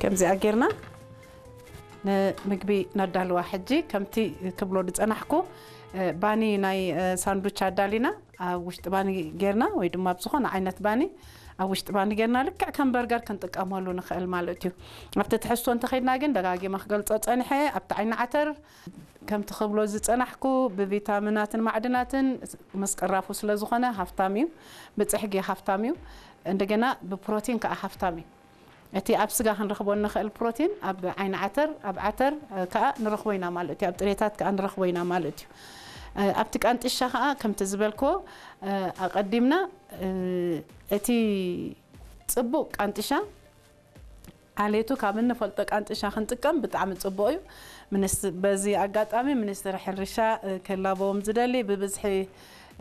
ከምዚኣ ጌርና ንምግቢ ነዳልዋ። ሕጂ ከምቲ ክብሎ ዝጸናሕኩ፣ እ፣ ባኒ ናይ፣ እ፣ ሳንዱች ኣዳሊና ኣብ ውሽጢ ባኒ ጌርና፣ ወይ ድማ ኣብ ዝኾነ ዓይነት ባኒ ኣብ ውሽጢ ባኒ ጌርና ልክዕ ከም በርገር ክንጥቀመሉ ንኽእል ማለት እዩ። ኣብቲ ትሕዝቶ እንተኸይድና ግን ደጋጊመ ክገልጾ ጸኒሐ፣ ኣብቲ ዓይኒ ዓተር ከምቲ ክብሎ ዝጸናሕኩ ብቪታሚናትን ማዕድናትን ምስ ቅራፉ ስለ ዝኾነ ሃፍታም እዩ፣ ብጽሕጊ ሃፍታም እዩ፣ እንደገና ብፕሮቲን ከኣ ሃፍታም እዩ። እቲ ኣብ ስጋ ክንረኽቦ እንኽእል ፕሮቲን ኣብ ዓይኒ ዓተር፣ ኣብ ዓተር፣ እ፣ ከኣ ንረኽቦ ኢና ማለት እዩ። ኣብ ጥሬታት ከኣ ንረኽቦ ኢና ማለት እዩ። እ፣ ኣብቲ ቃንጥሻ ከኣ ከምቲ ዝበልክዎ፣ እ፣ ኣቐዲምና፣ እ፣ እቲ ጽቡቕ ቃንጥሻ ዓሌቱ ካብ እንፈልጦ ቃንጥሻ ክንጥቀም ብጣዕሚ ጽቡቕ እዩ። ሚኒስ-፣ በዚ ኣጋጣሚ ሚኒስትሪ ሕርሻ፣ እ፣ ክላበዎም ዝደሊ ብብዝሒ፣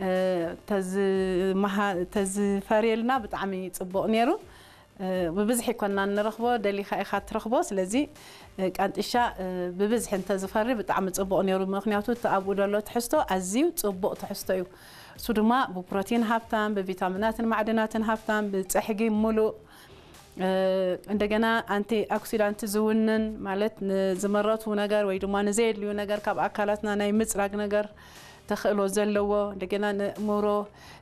እ፣ ተዝመሃ-፣ ተዝፈርየልና ብጣዕሚ ጽቡቕ ነይሩ። እ፣ ብብዝሒ ይኮና እንረኽቦ፣ ደሊኻ ኢኻ ትረኽቦ። ስለዚ፣ እ፣ ቃንጥሻ፣ እ፣ ብብዝሒ እንተዝፈሪ ብጣዕሚ ጽቡቕ ነይሩ። ምኽንያቱ እቲ ኣብኡ ዘሎ ትሕዝቶ ኣዝዩ ጽቡቕ ትሕዝቶ እዩ። እሱ ድማ ብፕሮቲን ሃብታም፣ ብቪታሚናትን ማዕድናትን ሃብታም፣ ብጸሕጊ ሙሉእ፣ እ፣ እንደገና ኣንቲ ኦክሲዳንት ዝውንን ማለት ንዝመረቱ ነገር ወይ ድማ ንዘየድልዩ ነገር ካብ ኣካላትና ናይ ምጽራግ ነገር ተኽእሎ ዘለዎ፣ እንደገና ንእምሮ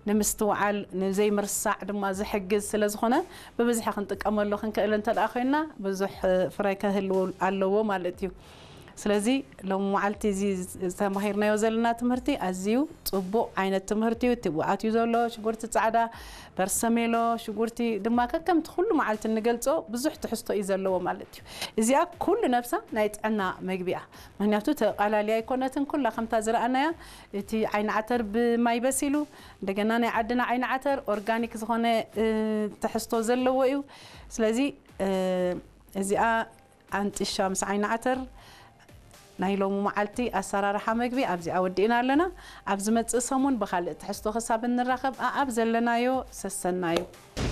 ንምስትውዓል፣ ንዘይምርሳዕ ድማ ዝሕግዝ ስለ ዝኾነ ብብዝሒ ክንጥቀመሉ ክንክእል እንተ ደኣ ኮይንና ብዙሕ፣ እ፣ ፍረ ከህልዎ ኣለዎ ማለት እዩ። ስለዚ ሎሚ መዓልቲ እዚ ዝተማሂርናዮ ዘለና ትምህርቲ ኣዝዩ ጽቡቕ ዓይነት ትምህርቲ እዩ። እቲ ብኣትዩ ዘሎ ሽጉርቲ ጻዕዳ፣ በርሰሜሎ፣ ሽጉርቲ ድማ ከከምቲ ኩሉ መዓልቲ እንገልጾ ብዙሕ ትሕዝቶ እዩ ዘለዎ ማለት እዩ። እዚኣ ኩሉ ነብሳ ናይ ጥዕና መግቢ እያ። ምኽንያቱ ተቓላልያ ኣይኮነትን፣ ኩላ ከምታ ዝረኣናያ እቲ ዓይኒ ዓተር ብማይ በሲሉ፣ እንደገና ናይ ዓድና ዓይኒ ዓተር ኦርጋኒክ ዝኾነ፣ እ፣ ትሕዝቶ ዘለዎ እዩ። ስለዚ፣ እ፣ እዚኣ ኣንጥሻ ምስ ዓይኒ ዓተር ናይ ሎሚ መዓልቲ ኣሰራርሓ መግቢ ኣብዚኣ ወዲእና ኣለና። ኣብ ዝመጽእ ሰሙን ብኻልእ ትሕዝቶ ክሳብ እንራኸብ ኣኣብ ዘለናዮ ሰሰናዩ።